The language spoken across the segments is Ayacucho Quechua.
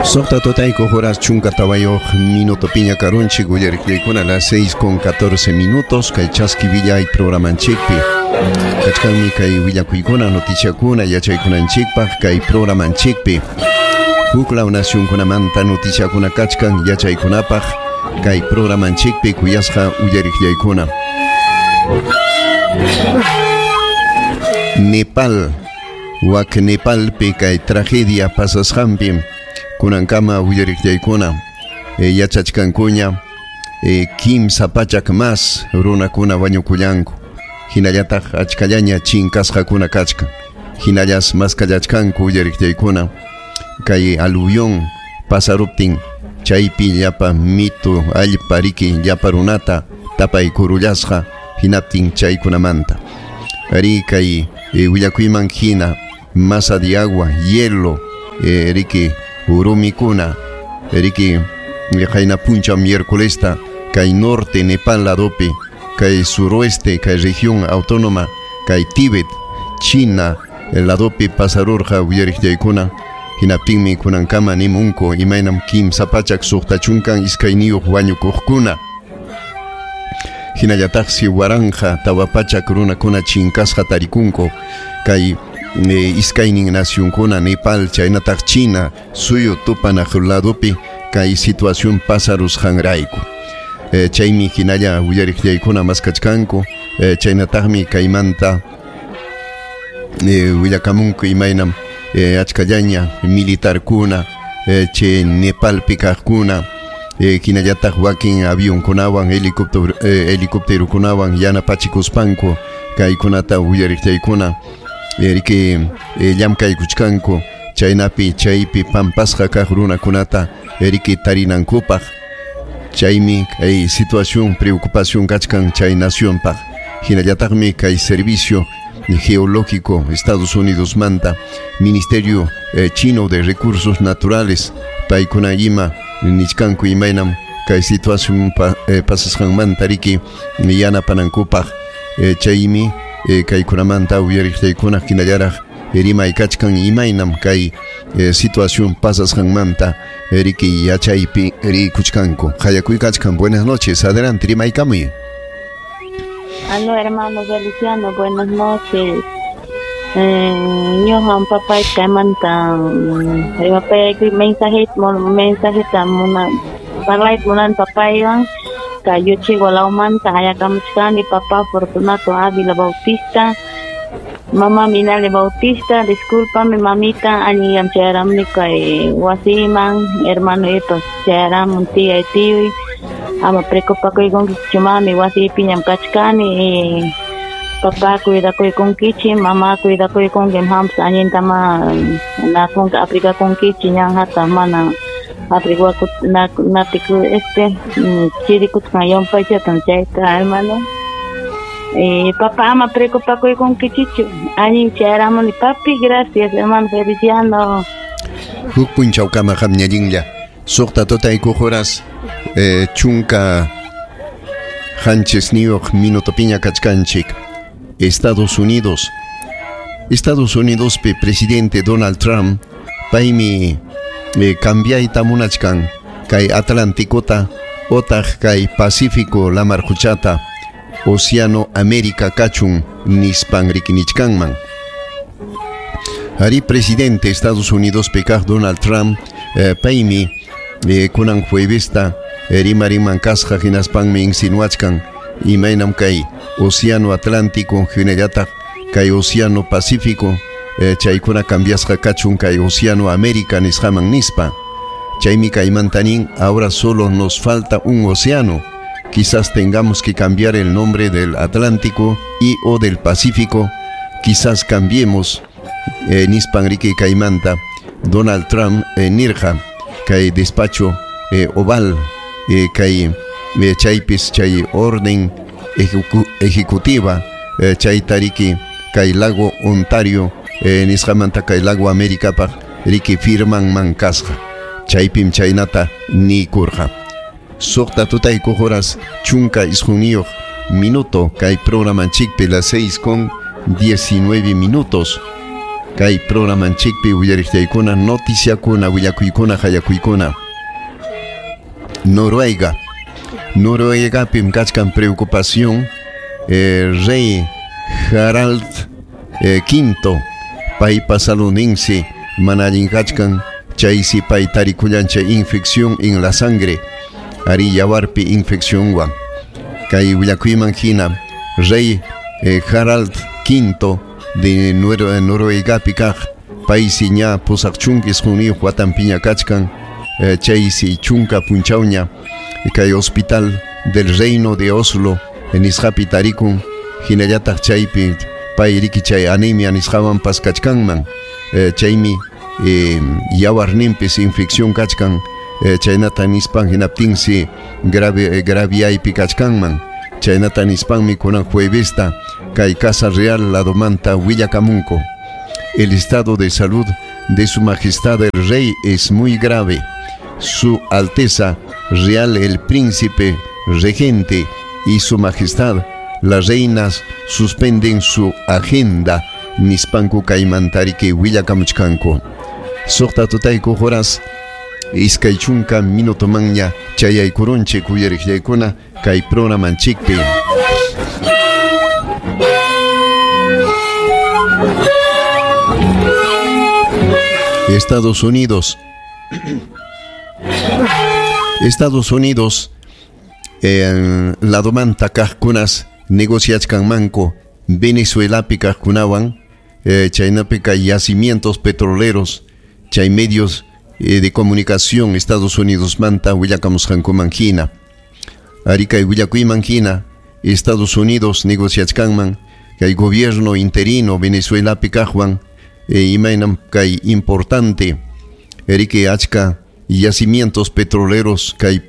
Suqta tutaykuq horas chunka tawayuq minuto piña karunchik uyariqllaykuna las 6 con 14 minutos kay chaski willay programanchikpi kachkanmi kay willakuykuna noticiakuna yachaykunanchikpaq kay programanchikpi huklaw nacionkunamanta noticiakuna kachkan yachaykunapaq kay programanchikpi kuyasqa uyariqllaykuna. Nepal wak Nepalpi kay tragedia pasasqanpi kunankama uyariqllaykuna yachachkankuña 300 más runakuna wañukullanku hinallataq achkallaña chinkasqakuna kachkan hinallas maskallachkanku uyariqllaykuna kay aluvión pasaruptin chaypi llapa mitu allpa riki llapa runata tapaykurullasqa hinaptin chaykunamanta ari kay willakuyman hina masa de agua hielo riki urumikuna riki qayna puncha miércolesta kay norte Nepal ladopi kay suroeste kay región autónoma kay Tíbet China ladopi pasarurqa uyariqllaykuna hinaptinmi kunankama nimunku imaynam 362 wañukuqkuna hinallataqsi 1400 runakuna chinkasqa tarikunku kay iskaynin nacionkuna Nepal chaynataq China suyu tupanaq ladopi kay situación pasarusqanrayku chaymi hinalla uyariqllaykuna maskachkanku chaynataqmi kaymanta willakamunku imaynam achkallaña militarkuna chay Nepalpi kaqkuna hinallataq wakin avionkunawan helicópterokunawan yanapachikuspanku kaykunata uyariqllaykuna riki llamkaykuchkanku chaynapi chaypi pampasqa kaq runakunata riki tarinankupaq chaymi kay situación preocupación kachkan chay nacionpaq hinallataqmi kay servicio geológico Estados Unidos manta Ministerio Chino de Recursos Naturales paykuna ima nichkanku imaynam kay situación pasasqanmanta riki yanapanankupaq chaymi kaykunamanta uyariqllaykuna hinallaraq rimay kachkan imaynam kay situación pasasqanmanta riki yachaypi rikuchkanku qayakuy kachkan. Buenas noches, adelante, rimaykamuy. Aló, hermano Feliciano, buenas noches. Ñuqam papay kaymanta rimapayaykuy mensajeta parlayta munan papaywan kay Yuchigua lawmanta hayakamuchkani papá Fortunato Ávila Bautista, mamá Minale Bautista, discúlpame mamita, allinllam chayaramuni kay wasiman, hermano ipas chayaramun tía y tiyuy, ama preocupakuykunkichu mami, wasipiñam kachkani, papá cuidakuykunkichik, mamá cuidakuykunkim, hampas allintama nakunki aprigakunkichik, ñanjata mana aprigaku este chirikutkan yumpaychatan chayta hermano. Papá ama preocupakuykunkichichu, allin chayaramuni papi, gracias hermano Feliciano. Huk punchawkama qamñallinlla suqta tutaykuq horas 17 minutopiña kachkanchik. Estados Unidos. Estados Unidos pe presidente Donald Trump paymi cambiayta munachkan kay Atlanticota otaq kay Pacífico lamar quchata Océano América kachun nispan rikinichkanman. Ari presidente Estados Unidos pekaq Donald Trump paymi kunan juevesta rimariman kasqa hinaspanmi insinuachkan imaynam kay Océano Atlántico hinallataq kay Océano Pacífico chaykuna cambiasqa kachun kay Océano América nisqaman nispa. Chaymi kaymanta nin ahora solo nos falta un océano, quizás tengamos que cambiar el nombre del Atlántico y o del Pacífico, quizás cambiemos nispan riki kaymanta Donald Trump nirqa kay despacho oval kay chaypis chay orden ejecutiva chayta riki kay lago Ontario nisqamanta kay lago Américapaq riki firmanman kasqa chaypim chaynata nikurqa. Suqta tutaykuq horas 19 minuto kay programanchikpi las 6:19. Kay programanchikpi uyariqtaykuna noticiakuna willakuykuna hayakuykuna. Noruega. Noruegapim kachkan preocupación rey Harald V paypa saludninsi mana allin kachkan chaysi pay tarikullan chay infección en la sangre ari yawarpi infeccionwan kay willakuyman hina rey Harald V de Noruegapi kaq paysi ña pusaq chunka isqunniyuq watanpiña kachkan chaysi chunka punchawña kay hospital del Reino de Oslo nisqapi tarikun hinallataq chaypi pay riki chay anemia nisqawanpas kachkanman chaymi yawarninpis infección kachkan chaynata nispan hinaptinsi graviaypi kachkanman chaynata nispanmi kunan juevesta kay Casa Real ladomanta willakamunko. El estado de salud de su majestad el rey es muy grave. Su Alteza Real el príncipe regente y su majestad las reinas suspenden su agenda nispanku kaymantariki willakamuchkanku. Suqta tutayku horas iskay chunka minutomanña chayaykurunchik uyariqllaykuna kay programanchikpi. Estados Unidos. Estados Unidos ladomanta kaqkunas negociachkanmanku Venezuelapi kaqkunawan chaynapi kay yacimientos petroleros chay medios de comunicación Estados Unidos manta willakamusqankuman hina. Ari kay willakuyman hina Estados Unidos negociachkanman kay gobierno interino Venezuelapi kaqwan imaynam kay importante erike achka yacimientos petroleros kay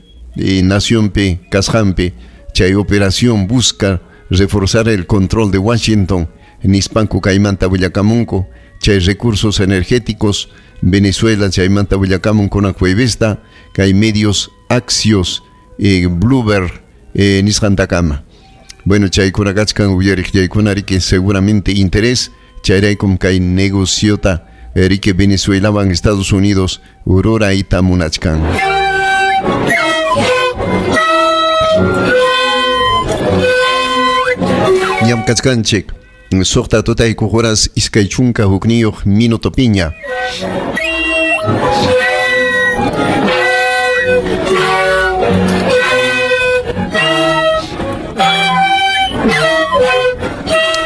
nacionpi kasqanpi chay operación busca reforzar el control de Washington nispanku kaymanta willakamunku chay recursos energéticos Venezuela chaymanta willakamun kunan juevesta kay medios Axios Bloomberg nisqantakama. Bueno, chaykuna kachkan uyariqllaykuna riki seguramente interés chayraykum kay negociota riki Venezuelawan Estados Unidos rurayta munachkan. Ñam kachkanchik suqta tutayku horas iskay chunka hukniyuq minuto piña.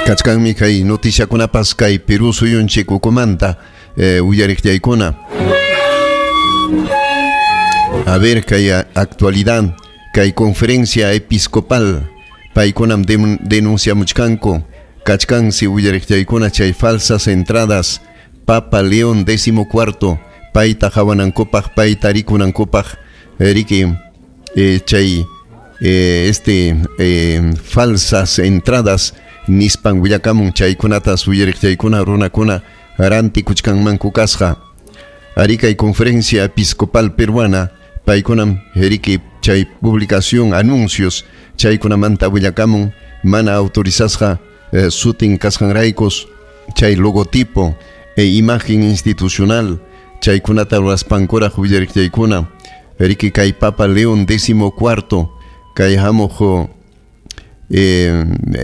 Kachkanmi kay noticiakunapas kay Perú suyunchik ukumanta uyariqllaykuna. A ver kay actualidad kay conferencia episcopal paykunam denunciamuchkanku kachkansi uyariqllaykuna chay falsas entradas Papa León XIV payta hawanankupaq payta rikunankupaq riki chay falsas entradas nispan willakamun chaykunatas uyariqllaykuna runakuna rantikuchkanmanku kasqa. Ari kay conferencia episcopal peruana paykunam riki chay publicación anuncios chaykunamanta willakamun mana autorizasqa sutin kasqanraykos chay logotipo e imagen institucional chaykunata ruraspankuraq uyariqllaykuna riki kay Papa León XIV kay hamuq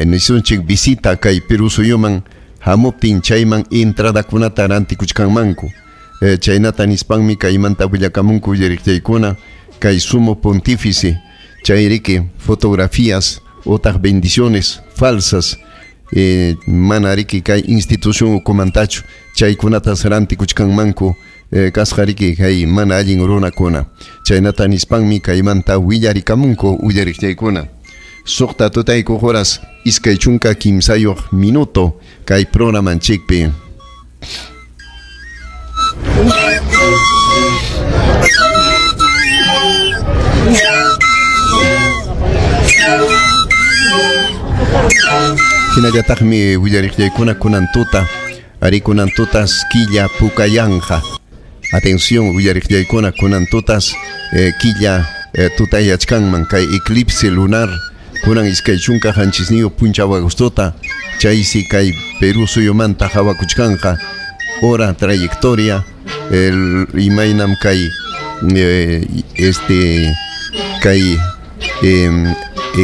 nisunchik visita kay Perú suyuman hamuptin chayman entradakunata rantikuchkanmanku chaynata nispanmi kaymanta willakamunku uyariqllaykuna kay sumo pontífice chay riki fotografías otras bendiciones falsas mana riki kay institución ukumantachu chaykunatas rantikuchkanmanku kasqa riki kay mana allin runakuna chaynata nispanmi kaymanta willarikamunku uyariqllaykuna. Suqta tutayku horas iskay chunka kimsayuq minuto kay programanchikpi. Hinallataqmi willariqllaykuna kunan tuta ari kunan tutas killa pukayanja. Atención willariqllaykuna kunan tutas killa tutayachkanman kay eclipse lunar kunan iskay chunka qanchisniyuq punchaw agostota chaysi kay Perú suyumanta hawakuchkanqa hora trayectoria el imaynam kay este kay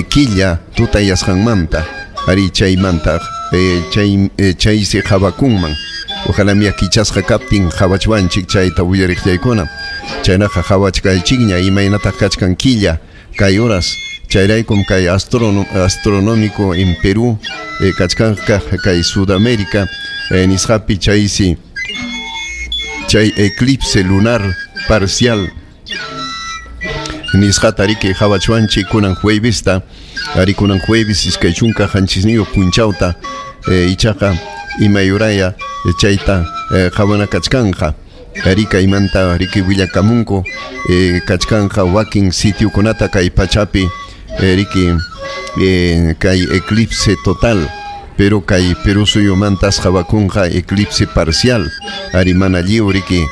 killa tutayasqanmanta ari chaymanta chaysi qhawakunman. Ojalá mi kichasqa kaptin qhawachwanchik chayta uyariqllaykuna. Chaynaqa qhawachkaychikña imaynataq kachkan killa kay horas chayraykum kay astronómico en Perú kachkanqa kay Sudamérica nisqapi chaysi chay eclipse lunar parcial nisqata riki qhawachwanchik kunan juevesta ari kunan jueves 27 punchawta ichaqa imayuraya chayta qhawana kachkanqa ari kaymanta riki willakamunku kachkanqa wakin sitiokunata kay pachapi riki kay eclipse total pero kay Perú suyumantas qhawakunqa eclipse parcial ari mana lliw riki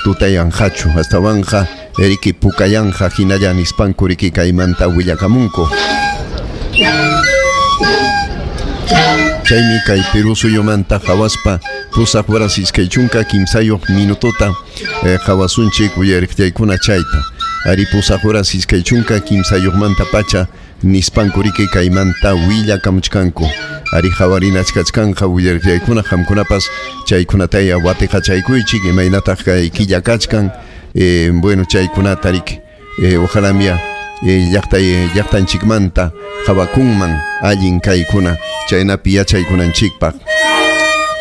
tutayanqachu astawanqa riki pukayanja hinalla nispanku riki kaymanta willakamunku. Chaymi kay Perú suyumanta qhawaspa 8 horas 23 minutota qhawasunchik uyariqllaykuna chayta ari 8 horas 23 pacha nispanku riki kaymanta willakamuchkanku ari qhawarinachkachkanqa uyariqllaykuna qamkunapas chaykunataya watiqachaykuychik imaynataq kay killa kachkan bueno chaykunata riki ojalá mia llaqtanchikmanta qhawakunman allin kaykuna chaynapi yachaykunanchikpaq.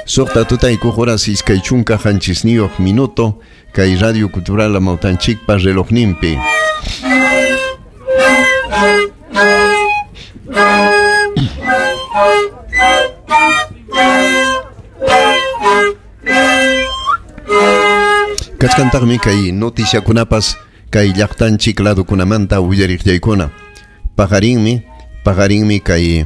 6 tutaykuq horas 27 minuto kay Radio Cultural Amawtanchikpa relojninpi. Kachkantaqmi kay noticiakunapas kay llaqtanchik ladukunamanta willariqllaykuna. Paqarinmi kay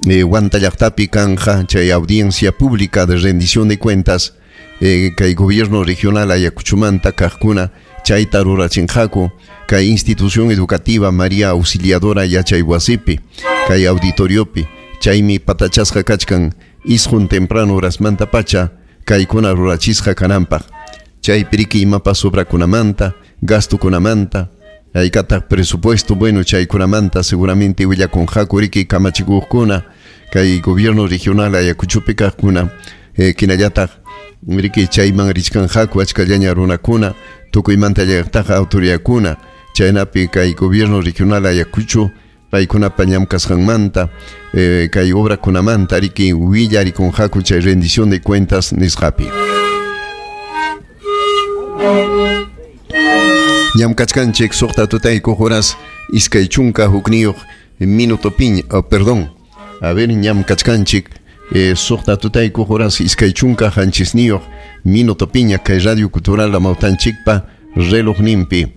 Huanta llaqtapi kanja chay audiencia pública de rendición de cuentas kay gobierno regional Ayacuchumanta kaqkuna chayta rurachinqaku kay institución educativa María Auxiliadora yachaywasipi kay auditoriopi chaymi patachasqa kachkan isqun temprano horasmanta pacha kaykuna rurachisqa kananpaq chaypi riki imapas obrakunamanta gastukunamanta haykataq presupuesto bueno chaykunamanta seguramente willakunqaku riki kamachikuqkuna kay gobierno regional Ayacuchopi kaqkuna kinallataq riki chayman richkanqaku achkallaña runakuna tukuymanta llaqtaqa autoridadkuna chaynapi kay gobierno regional Ayacucho paykunapa llamkasqanmanta kay obrakunamanta riki willarikunqaku chay rendición de cuentas nisqapi. Llamkachkanchik 6 tutaykuq horas 21 minuto piña, perdón, a ver, ñamkachkanchik 6 tutaykuq horas 27 minuto piña kay Radio Cultural Amawtanchikpa relojninpi.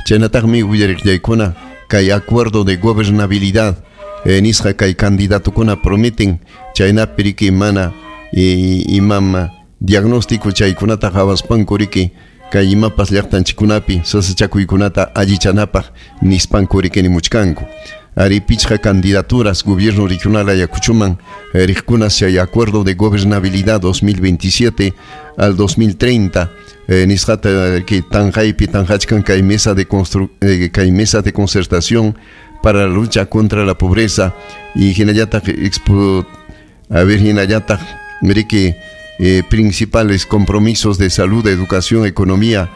Chaynataqmi willariqllaykuna kay acuerdo de gobernabilidad nisqa kay candidatukuna prometen chaynapi riki mana imam diagnóstico chaykunata qhawaspanku riki kay imapas llaqtanchikkunapi sasachakuykunata allichanapaq nispanku riki nimuchkanku. Ari pichqa candidaturas gobierno regional Ayacuchoman riqkuna chay acuerdo de gobernabilidad 2027 al 2030 nisqata que tanqaypi tanqachkan kay mesa de kay mesa de concertación para la lucha contra la pobreza y hinallataq a ver hinallataq riki principales compromisos de salud, educación, economía,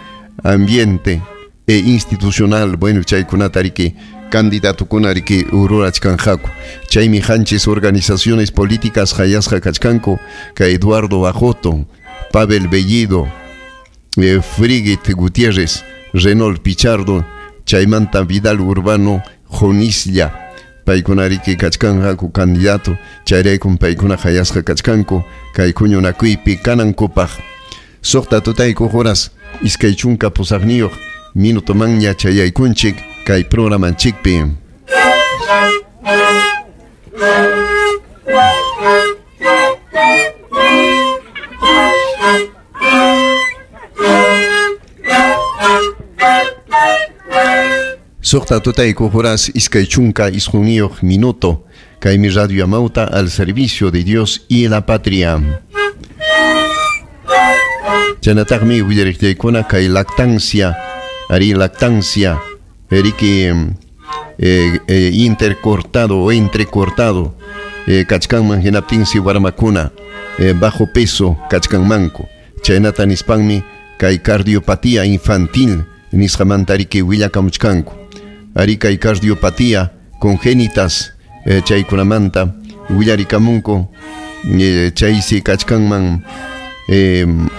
ambiente e institucional. Bueno, chaykunata riki candidatukuna riki rurachkanqaku. Chaymi hanchis organizaciones políticas hayasqa kachkanku kay Eduardo Ajoto, Pavel Bellido, Frigit Gutiérrez, Renault Pichardo, chaymanta Vidal Urbano Jonislla. Paykuna riki kachkanqaku candidato chayraykum paykuna hayasqa kachkanku kay huñunakuypi kanankupaq. 6 tutaykuq horas 28 minutomanña chayaykunchik kay programanchikpi. 6 tutaykuq horas 29 minuto kaymi Radio Amauta al servicio de Dios y la patria. Chaynataqmi willariqllaykuna kay lactancia, ari lactancia, riki intercortado o entrecortado kachkanman hinaptinsi warmakuna bajo peso kachkanmanku. Chaynata nispanmi kay cardiopatía infantil nisqamanta riki willakamuchkanku. Ari kay cardiopatía congénitas chaykunamanta willarikamunku, chaysi kachkanman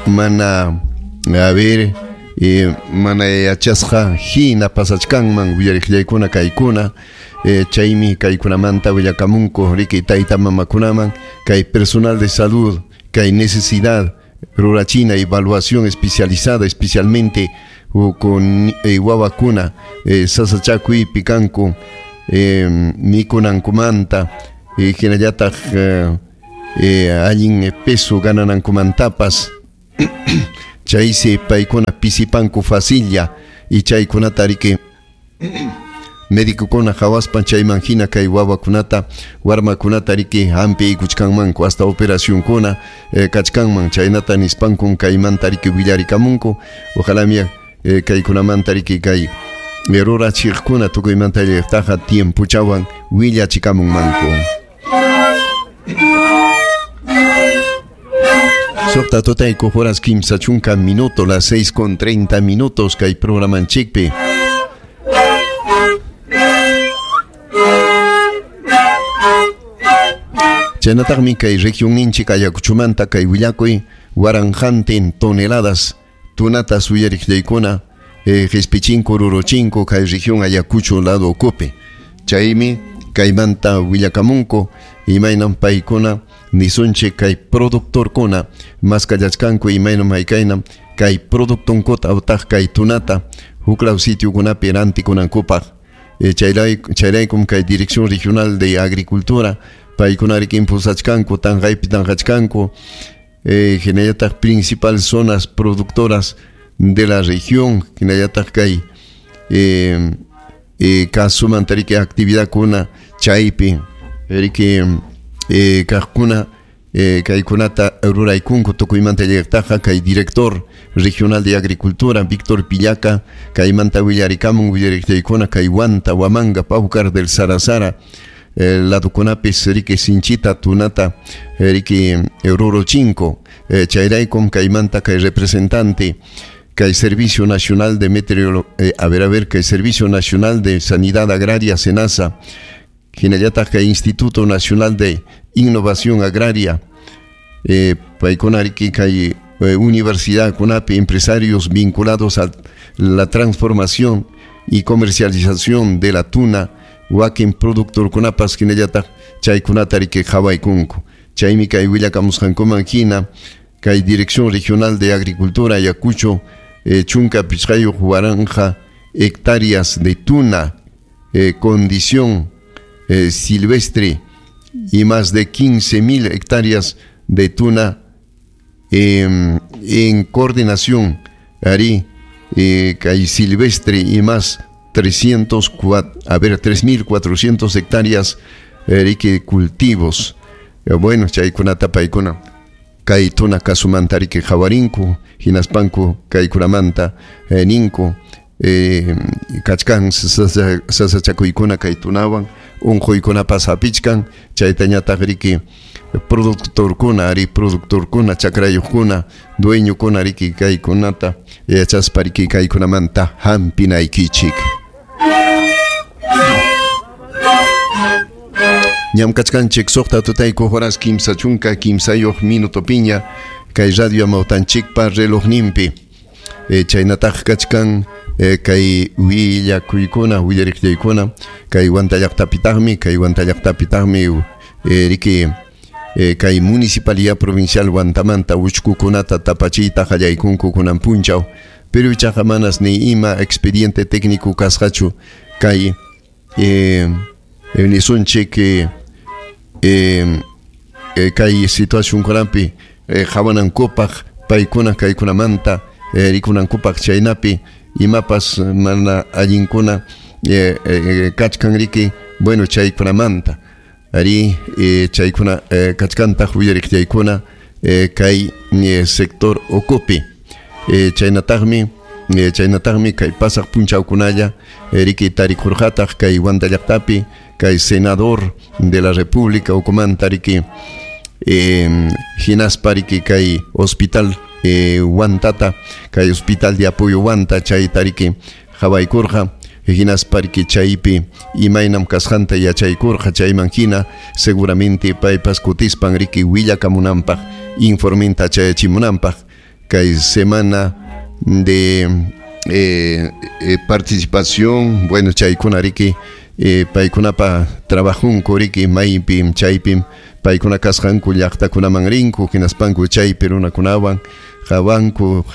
mana a ver mana yachasqa hina pasachkanman willariqllaykuna kaykuna, chaymi kaykunamanta willakamunku riki tayta mamakunaman kay personal de salud kay necesidad rurachina evaluación especializada especialmente con wawakuna sasachakuypi kanku mikunankumanta hinallataq allin peso gananankumantapas chaysi paykuna pisipanku facilla y chaykunata riki médicokuna qhawaspan chayman hina kay wawakunata warmakunata riki hampiykuchkanmanku hasta operacionkuna kachkanman chaynata nispankun kaymanta riki willarikamunku. Ojalá mia kaykunamanta riki kay rurachiqkuna tukuymanta llaqtaqa tiempochawan willachikamunmanku. Suqta tutayku horas kimsa chunka minuto, las 6:30 kay programanchikpi. Chaynataqmi kay regionninchik Ayacuchumanta kay willakuy waranqantin toneladas tunatas uyariqllaykuna qispichinku ruruchinku kay región Ayacucho lado ukupi. Chaymi kaymanta willakamunku imaynam paykuna nisunchik kay productorkuna maskallachkanku imaynam haykaynam kay productonkuta utaq kay tunata huklaw sitiokunapi rantikunankupaq. Chayraykum kay Dirección Regional de Agricultura paykuna riki impulsachkanku tanqaypi tanqachkanku hinallataq principal zonas productoras de la región hinallataq kay kasumanta riki actividadkuna chaypi riki kaqkuna kaykunata ruraykunku tukuymanta llaqtaqa kay director regional de agricultura Víctor Pillaca kaymanta willarikamun willariqllaykuna kay Huanta, Huamanga, Paucar del Sarasara ladukunapis riki sinchita tunata riki ruruchinku. Chayraykum kaymanta kay representante kay Servicio Nacional de Meteorología, a ver kay Servicio Nacional de Sanidad Agraria SENASA hinallataq kay Instituto Nacional de Innovación Agraria paykuna riki kay universidad kunapi empresarios vinculados a la transformación y comercialización de la tuna wakin productorkunapas hinallataq chaykunata riki qhawaykunku. Chaymi kay willakamusqankuman hina kay Dirección Regional de Agricultura Ayacucho chunka pichqayuq waranqa hectáreas de tuna condición silvestre y más de 15,000 hectáreas de tuna en coordinación ari kay silvestre y más 3,400 hectáreas riki cultivos. Bueno, chaykunata paykuna kay tuna kasumanta riki qhawarinku hinaspanku kaykunamanta ninku kachkan sasachakuykuna kay tunawan unquykunapas hapichkan chaytañataq riki productorkuna ari productorkuna chakrayuqkuna dueñokuna riki kaykunata yachaspa riki kaykunamanta hampinaykichik. Ñam kachkanchik suqta tutayku horas kimsa chunka kimsayuq minutopiña kay radio amawtanchikpa relojninpi. Chaynataq kachkan kay willakuykuna willariqllaykuna kay Huanta llaqtapitaqmi riki kay Municipalidad Provincial Huantamanta uchkukunata tapachiyta qallaykunku kunan punchaw, pero ichaqa manas ni ima expediente técnico kasqachu kay nisunchik kay situacionkunapi qhawanankupaq paykuna kaykunamanta rikunankupaq chaynapi imapas mana allinkuna kachkan riki bueno chaykunamanta ari chaykuna kachkantaq willariqllaykuna kay sector ukupi. Chaynataqmi kay pasaq punchawkunalla riki tarikurqataq kay Huanta llaqtapi kay senador de la República ukumanta riki hinaspa riki kay hospital Huantata, kay hospital de apoyo Huanta chayta riki qhawaykurqa, hinaspa riki chaypi imaynam kasqanta yachaykurqa, chayman hina seguramente paypas kutispan riki willakamunanpaq informenta chayachimunanpaq kay semana de participación, bueno, chaykuna riki paykunapa trabajunku riki maypim chaypim paykuna kasqanku llaqtakunaman rinku hinaspanku chaypi runakunawan qhawanku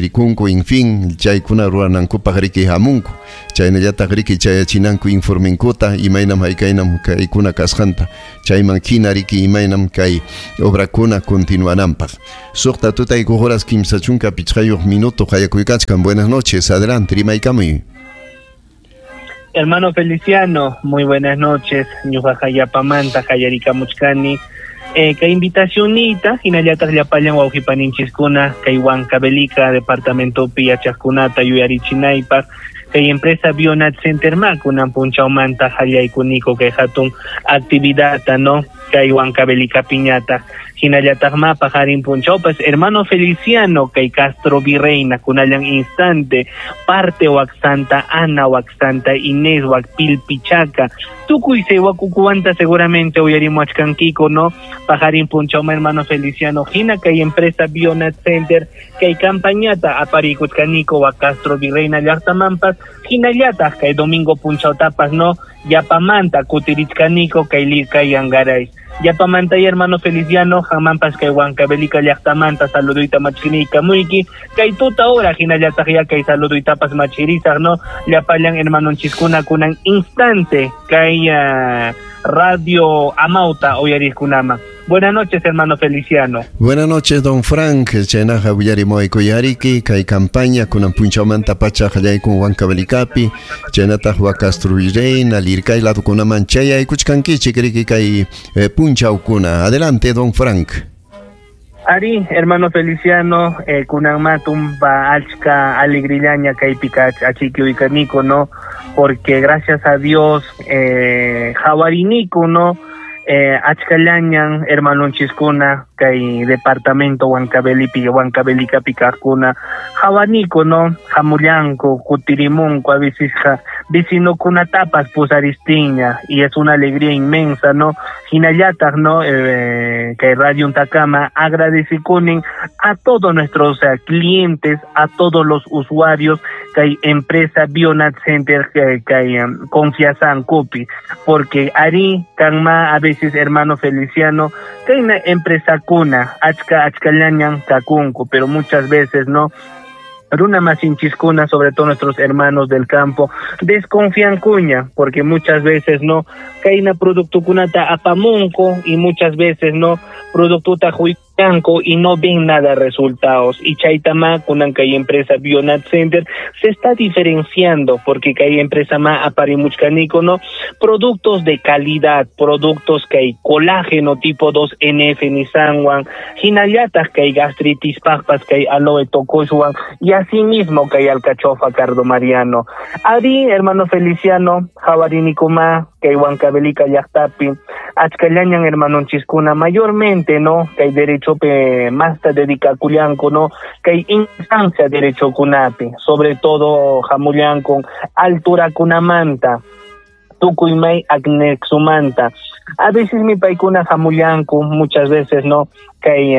rikunku, en fin, chaykuna ruranankupaq riki hamunku, chaynallataq riki chayachinanku informenkuta imaynam haykaynam kaykuna kasqanta, chayman hina riki imaynam kay obrakuna continuananpaq. Suqta tutayku horas 35 minuto qayakuykachkan. Buenas noches, adelante, rimaykamuy. Hermano Feliciano, muy buenas noches. Ñuqa yapamanta qallarikamuchkani. Kay invitacionita hinallataq llapallan wawqipaninchiskuna kay Huancavelica departamentopi yachaqkunata yuyarichinaypaq kay empresa Bionat Center ma kunan punchawmanta qallaykuniko kay hatun actividadta, no, kay Huancavelica piñata hinallataq ma paqarin punchawpas hermano Feliciano kay Castro Virreina kunallan instante parte wak Santa Ana wak Santa Inés wak Pilpichaca tukuy saywakukuwanta seguramente uyarimuachkankiko, no, paqarin punchawma hermano Feliciano hina kay empresa Bionat Center kay campañata aparikuchkaniko wak Castro Virreina llaqtamanpas hinallataq kay domingo punchawtapas, no, yapamanta kutirichkaniko kay Lircay Angaray. Yapamanta y hermano Feliciano hamanpas kay Huancavelica llaqtamanta saluduyta machirikamuyki kay tuta hora hinallataq ya kay saluduytapas machirisaq, no, llapallan hermanonchiskuna kunan instante kay Radio Amauta uyariqkunama. Buenas noches, hermano Feliciano. Buenas noches, don Frank. Chaynaqa willarimuayku kay campaña kunan punchawmanta pacha qallaykun Huancavelicapi, chaynataq wa Castro Virreina, Lircay ladukunaman chayaykuchkankichik riki kay punchawkuna. Adelante, don Frank. Ari, hermano Feliciano, kunan tumba achka alegrillaña kaypi achikuykaniko, no, porque gracias a Dios hawariniku, no, achkallañan hermanonchiskuna kay departamento Huancavelipi Huancavelicapi kaqkuna hawaniko, no, hamullanku kutirimunku a veces vecinokunatapas pusaristiña y es una alegría inmensa, no, hinallataq, no, kay Radio Untakama agradecikunin a todos nuestros clientes, a todos los usuarios kay empresa Bionat Center kay confianzankupi, porque ari kanma a veces hermano Feliciano kay na empresa kuna achka achkallañan kakunku, pero muchas veces no, runa masinchiskuna, sobre todo nuestros hermanos del campo, desconfían cuña, porque muchas veces no, kayna productukunata apamunco y muchas veces no, productuta huikanko y no ven nada resultados. Y chaytama kunan kay empresa Bionat Center se está diferenciando porque kay empresa ma aparimuchkaniko, no, productos de calidad, productos que hay colágeno tipo 2NF nisanwan, hinallataq kay gastritis paqpas kay aloe tokoshwan y asimismo kay alcachofa cardomariano. Ari, hermano Feliciano, hawarinikuma kay Huancavelica llaqtapi achkallañan hermanonchiskuna mayormente, no, kay derechope masta dedicakullanku, no, kay instancia derechokunapi, sobre todo hamullanku alturakunamanta tukuymay acnexumanta. A veces mi paykuna hamullanku muchas veces, no, kay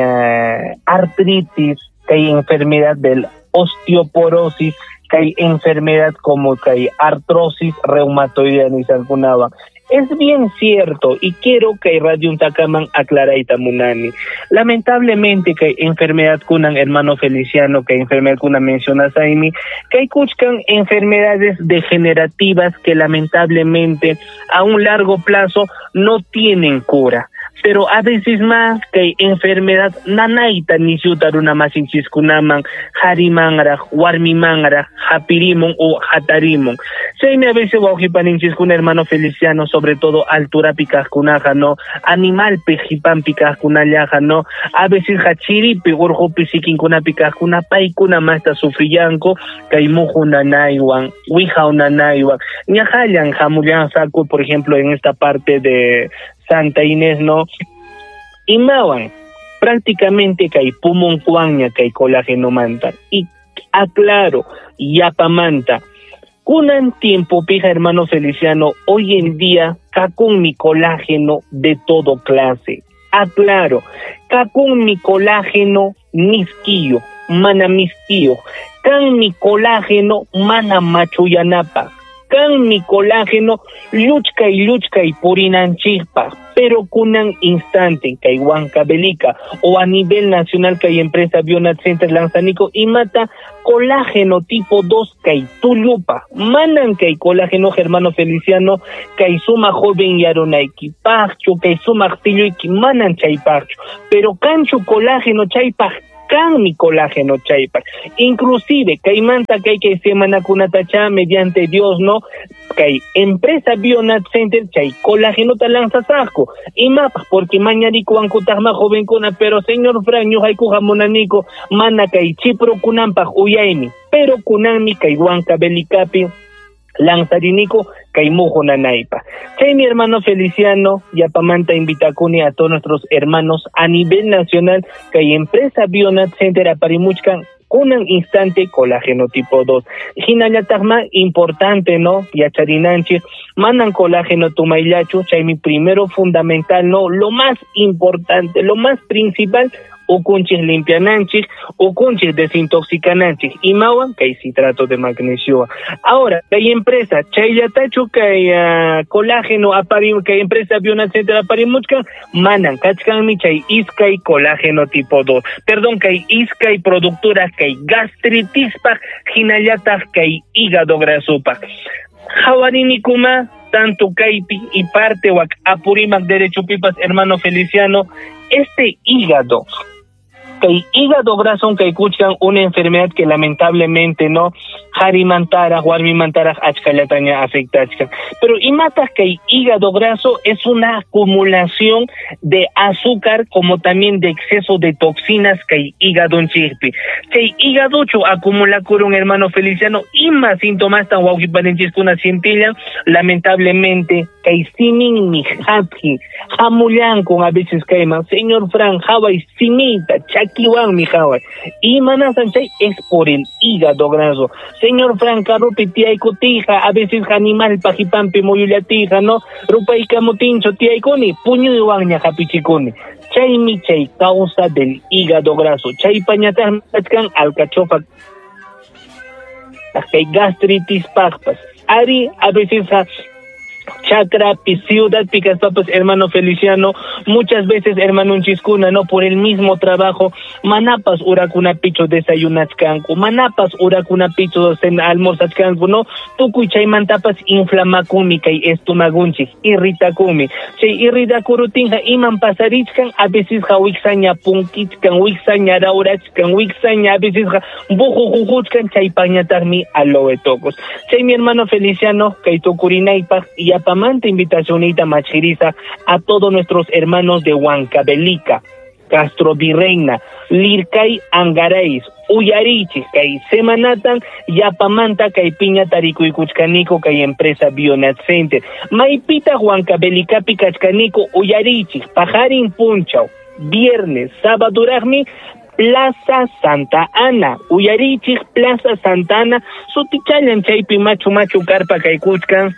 artritis, kay enfermedad del osteoporosis, kay enfermedad como kay artrosis reumatoidea nisankunaba. Es bien cierto, y quiero que Radio Untakaman aclaraita munani. Lamentablemente que enfermedad kunan, hermano Feliciano, que enfermedad kunan menciona Saimi, que kuchkan enfermedades degenerativas que lamentablemente a un largo plazo no tienen cura. Pero a veces más kay enfermedad nanayta nisyuta runa masinchiskunaman qharimanraq warmimanraq hapirimun o hatarimun. Chaymi a veces wawqipaninchiskuna hermano Feliciano, sobre todo alturapi kaqkunaqa, no, animalpi qipanpi kaqkunallaqa, no, a veces chiripi urqupi sikinkunapi kaqkuna paykuna masta sufrillanku kay muhu nanaywan wihaw nanaywan ñaqallan hamullansaku, por ejemplo, en esta parte de Santa Inés, no, imawan prácticamente kay pumunkuwanña kay colágeno manta. Y aclaro, yapamanta kunan tiempo pija hermano Feliciano, hoy en día kakun mi colágeno de todo clase. Aclaro, kakun mi colágeno miskiyo, mana miskiyo, kan mi colágeno mana machuyanapa, kan mi colágeno lluchkay lluchkay purinanchikpaq, pero kunan instante kay Huancavelica o a nivel nacional kay empresa Bionat Center lanzanico imata colágeno tipo 2 kay tullupa, manan kay colágeno hermano Feliciano kay suma joven yarunaykipaqchu kay sumaq tilluyki manan chaypaqchu, pero kanchu colágeno chaypaq, kan mi colágeno chaypaq. Inclusive kaymanta kay kay semanakunatacha mediante Dios, no, kay empresa Bionat Center chay colágeno ta lanzasaqku imapaq, porque mañarikuwankutaqma jovenkuna, pero señor Fran ñuqaykuqa munaniku mana kay chiprukunanpaq uyaymi, pero kunanmi kay Huancavelicapi lanzarinico kay muhu nanaypa. Chay mi hermano Feliciano, yapamanta invitakuni a todos nuestros hermanos a nivel nacional kay empresa Bionat Center aparimuchkan kunan instante colágeno tipo 2. Hinallataqma importante, no, yacharinanchik manan colágeno tumayllachu, chaymi primero fundamental, no, lo más importante, lo más principal, ukunchik limpiananchik, ukunchik desintoxicananchik, imawan kay citrato de magnesio. Ahora, kay empresa chayllatachu kay colágeno aparim, kay empresa Bionat Center aparimuchkan, manan kachkanmi chay iskay colágeno tipo 2. Perdón, kay iskay productora kay gastritispaq, hinallataq kay hígado grasopaq. Hawarinikuma tanto kaypi y parte wak Apurímac derecho pipas hermano Feliciano, este hígado kay hígado graso kay kuchkan una enfermedad que lamentablemente no qharimantaraq warmimantaraq achkallataña afectachkan, pero imataq kay hígado graso es una acumulación de azúcar como también de exceso de toxinas kay hígadonchikpi. Chay hígadochu acumulakurun hermano Feliciano ima sintomasta wawqipaninchiskuna sientillan lamentablemente kay siminmi haphi hamullankun a veces kayman señor Fran haway simita chakiwanmi haway imanasan chay es por el hígado graso. Señor Fran carrupi tiaykutija a veces animal pajipanpi muyullatija, no, rupaykamutinchu tiaykuni puñuywanña hapichikuni. Chaymi chay causa del hígado graso. Chaypañataqmi kachkan alcachofa kay gastritis paqpas. Ari a veces chakrapi, ciudad kaspapas hermano Feliciano, muchas veces hermanunchiskuna, no, por el mismo trabajo, manapas urakunapichu desayunachkanku, manapas urakunapichu almorzachkanku, no, tukuy chaymantapas inflamakumi kay estomagunchik, irritakumi. Chay irritakurutinqa iman pasarichkan, a veces ja wiksaña punkichkan, wiksaña rawrachkan, wiksaña a veces ja bujujujuchkan, chaypañataqmi aloe tocos. Chay mi hermano Feliciano, kay tukurinaypaq yapamanta invitacionita machiriza a todos nuestros hermanos de Huancavelica, Castro Virreina, Lircay, Angarais, Uyarichik, kay semanatan yapamanta kay piña tarikuykuchkaniko kay empresa Bionat Center. Maypita Huancavelicapi kachkaniko Uyarichik, pajarin punchaw, viernes, sábado raqmi, Plaza Santa Ana, Uyarichik, Plaza Santa Ana, sutichallan chaypi machu machu karpa kaykuchkan,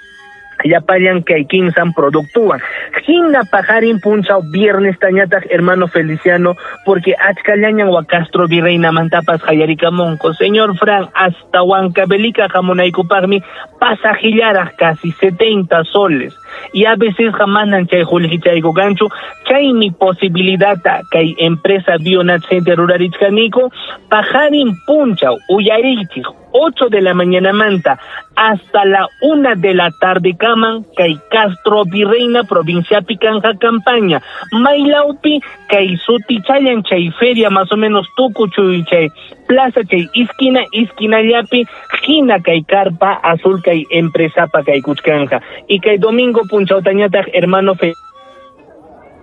llapallan kay kimsan productuwan. Hina pajarin punchaw viernes tañataq hermano Feliciano, porque achkallañan wa Castro Virreina mantapas hayarikamunko. Señor Fran, hasta Huancavelica hamunaykupaqmi pasajillaraq casi 70 soles. Y a veces jamanan chay qullqichayku kanchu, chaymi posibilidadta kay empresa Bionat Center rurarichkaniko, pajarin punchaw uyarichik 8 de la mañana manta hasta la 1 de la tarde kaman kay Castro Virreina provincia Picanja campaña Mailaupi kay sutichayan chay feria más o menos tukuchuy chay plaza chay esquina esquina llapi hina kay carpa azul kay empresa pa kay kuchkanja y kay domingo punchawtañataq hermano fe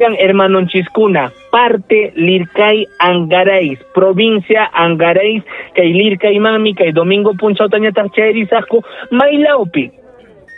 hermano Chiscuna, parte Lircay Angarais, provincia Angarais, kay Lircay mami, kay domingo punchawtañataq chayrisaqku Mailaupi.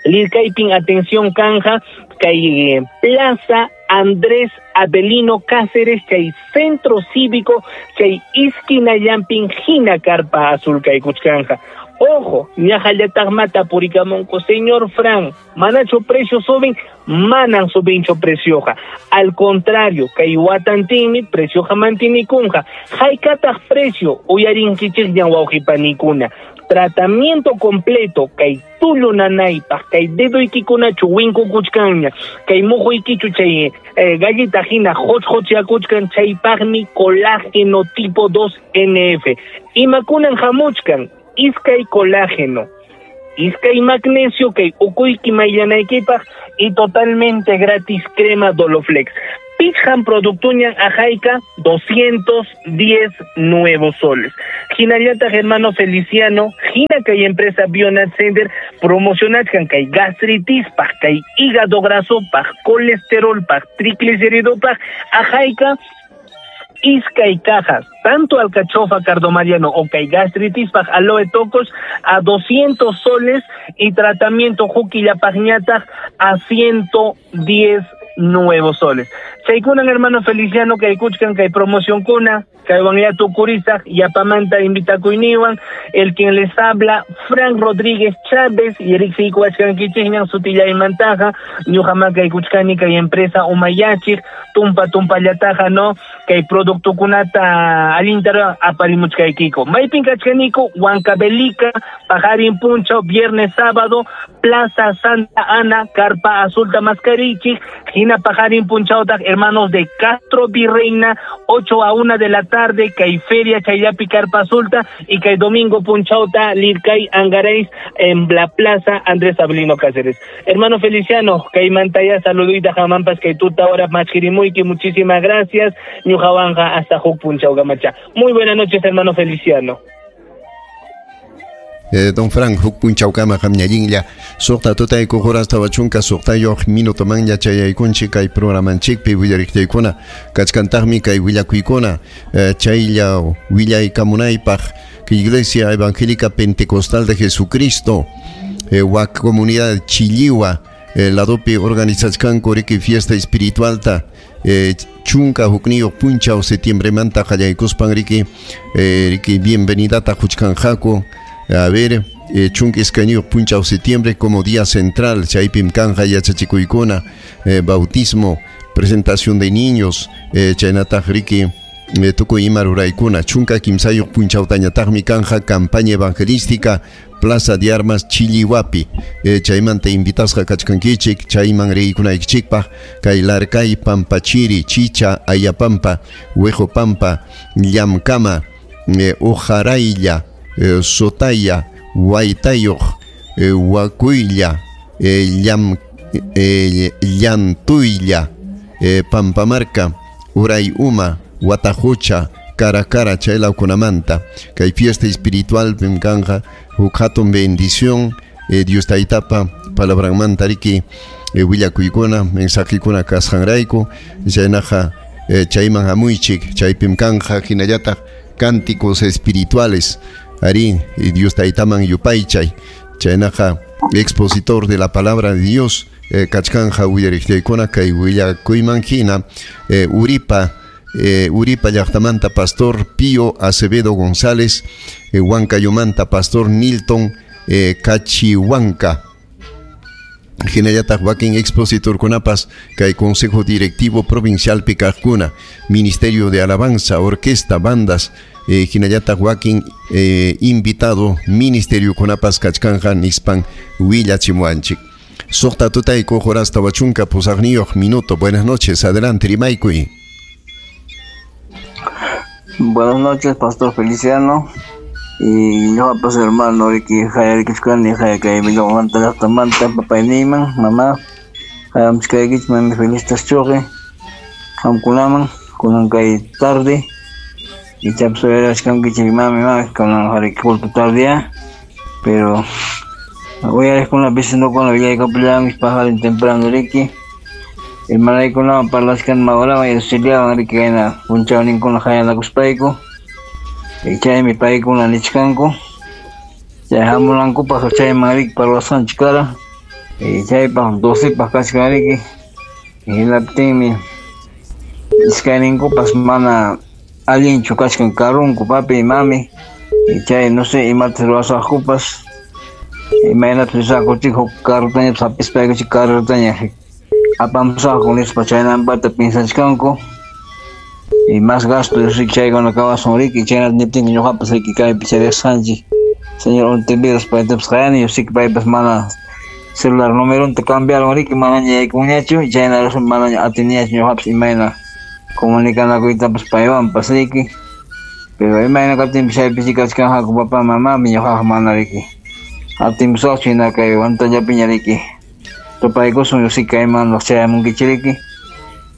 Lircaypin atención canja, kay Plaza Andrés Avelino Cáceres, chay Centro Cívico, chay esquina llampin hina carpa azul kay kuchkanja. Ojo, ñajallataq mata purikamunku, señor Fran, manacho precio suben, manan subincho precioja. Al contrario, kay watantinmi precioja mantinikunja. Haykataq precio, uyarinkichikñan wawqipanikuna. Tratamiento completo, kay tullu nanaypaq, kay dedoykikunachu winkukuchkanña, kay muhuykichu chay gallita hina hochhochyakuchkan, chaypaqmi colágeno tipo 2 NF. Imakunan hamuchkan, iskay colágeno, iskay magnesio, kay ukuyki mayllanaykipaq y totalmente gratis crema Doloflex. Pichhan productuñan ajayka 210 nuevos soles. Hinallata hermano Feliciano, hina kay empresa Bionat Center promocionachkan kay gastritis paj, kay hígado graso paj, colesterol paj, triglicérido paj, ajayka iskay cajas, tanto alcachofa cardomariano o kay gastritis paj aloe tocos a 200 soles y tratamiento juquillapajñataj a 110 nuevos soles. Chaykunan hermano Feliciano kay kuchkan kay promoción kuna, kay wangyatu kurisaj yapamanta invitakuyniwan, el quien les habla Frank Rodríguez Chávez y Eric Sikuachkankichikñan sutiyaymantaja, ñuqama kay kuchkani kay empresa Umayachik, tumpa tumpallataja no, kay productokunata alintara aparimuchkaykiko. Maypin kachkaniko, Huancavelica, Pajarín Puncho, viernes sábado, Plaza Santa Ana, Carpa Azul Tamascarichik, Gina Pajarín Punchautag, hermanos de Castro Virreina, 8 a 1 de la tarde, kay Feria Chayapi Carpa Azulta y kay Domingo Punchauta, Lircay Angareis en la Plaza Andrés Avelino Cáceres. Hermano Feliciano, kay Mantaya, saludita jamampas, kay tuta hora machkirimuiki, muchísimas gracias. Ñujawanja hasta Juk Punchaugamacha. Muy buenas noches, hermano Feliciano. Don Frank, huk punchawkama qamñallinlla suqta tutayku horas tawachunka suqtayuq minuto manña chayaykunchik kay programanchikpi willariqtaykuna kachkantaqmi kay willakuykuna chaylla willaykamunaypaq Iglesia Evangélica Pentecostal de Jesucristo wak comunidad Chilliwa ladopi organizachkanku riki fiesta espiritualta chunka hukniyuq punchaw septiembremanta qallaykuspan riki riki bienvenidata huchkanqaku. A ver, chunka iskayniyuq punchaw septiembre como día central, chaypim kanja yachachikuykuna, bautismo, presentación de niños, chaynataq riki tukuy ima ruraykuna, chunka kimsayuq punchawtañataqmi kanja campaña evangelística, Plaza de Armas Chilliwapi, chaymanta invitasqa kachkankichik, chayman riykunaykichikpaq, kay Larcay, Pampachiri, Chicha, Ayapampa, Huejopampa, Llamkama, Ujaraylla, Sotaya, Huaytayuq, Huacuylla, Llantuylla, Pampamarca, Urayuma, Huatajucha, Caracara, chaylawkunamanta. Kay fiesta espiritual pimkanja, huk hatun bendición, Dios taytapa palabranmanta riki, willakuykuna, mensajekuna kasqanrayku, chaynaqa chayman hamuychik, chaypimkanja hinallataq cánticos espirituales. Ari, Dios taytaman yupaychay, chaynaqa expositor de la palabra de Dios, kachkanja willariqtaykuna kay willakuyman hina, Uripa, Uripa llaqtamanta pastor Pío Acevedo González, Huancayomanta pastor Nilton Cachihuanca. Hinallataq wakin expositorkunapas kay Consejo Directivo Provincial Pikaqkuna, Ministerio de Alabanza, Orquesta, Bandas, hinallataq wakin invitado ministerio kunapas kachkanja nispan willachimuanchik. Suqta tutayku horas tawachunka pusaqniyuq minuto. Buenas noches, adelante rimaykuy. Buenas noches, Pastor Feliciano. Y ñuqapas hermano riki hayarikuchkani kay Huanta llaqtamanta papayniyman, mamá, hayamchkaykichik mami Felistas Chuqi, qamkunaman kunan kay tarde ichapas uyariwachkankichik mami, mami kunan riki culto tarde ya, pero uyariqkuna vecinokuna willaykapullankichik paqarin temprano riki. Hermanaykunawan parlachkani mawrawan Erciliawan riki kayna punchawninkuna hayanakuspayku. Chaymi paykuna nichkanku chay hamunankupaq chayman riki parlasqanchik kara. Chaypaq 12paq kachkan riki. Hinaptinmi iskayninkupas mana allinchu kachkan karunku papi mami. Chay no sé imata ruwasaqkupas imaynata risaqkuchik huk carrutañapas hapispaykuchik carrutaña apamusaqku nispa chaynampata piensachkanku. Y más gasto riki chaykuna kawasun riki chaynata niptinqa ñuqapas riki kaypi charisqanchik señor Ontiveros paytapas qayani riki paypas mana celular numeronta cambiaron riki manaña yaykunñachu chayna razón manaña atiniñachu ñuqapas imayna comunicanakuytapas paywanpas riki. Pero imayna kaptinpas chaypi kachkanqaku papá mamami ñuqaqa mana riki atinmusaqchu hina kay Huantallapiña riki tupaykusun riki kayman chayamunkichik riki.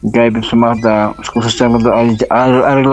Kaypi sumaqta cosaschakunata arregla.